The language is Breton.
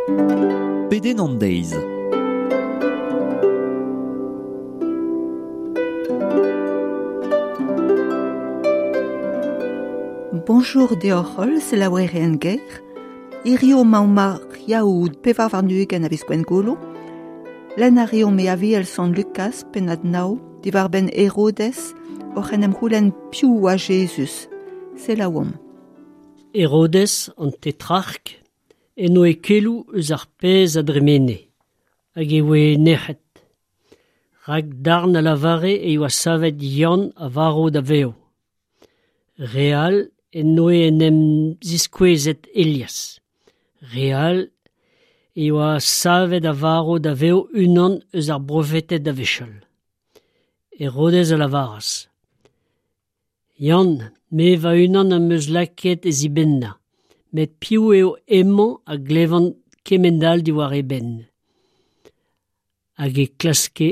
Pedenn an deiz. Bonjour deoc'h holl, selaouerien ger. Hirio emaomp ar Yaou 24 a viz Gwengolo. Lenn a reomp e Aviel Sant Lukaz, pennad nav, diwar-benn Herodez, oc'h en em c'houlenn piv oa Jezuz. Selaouomp. Herodez, an tetrark, en oe keloù eus ar pezh a dremene, hag e voe nec'het. Rak darn a lavare e oa savet Yann a varv da vev. Re all en doe en em ziskouezet Elias. Re all e oa savet a varv da vev unan eus ar brofeted a-wechall. Herodez a lavaras Yann, me va-unan am eus lakaet e zibennañ, met piv eo hemañ a glevan kement-all diwar e benn ? Hag e klaske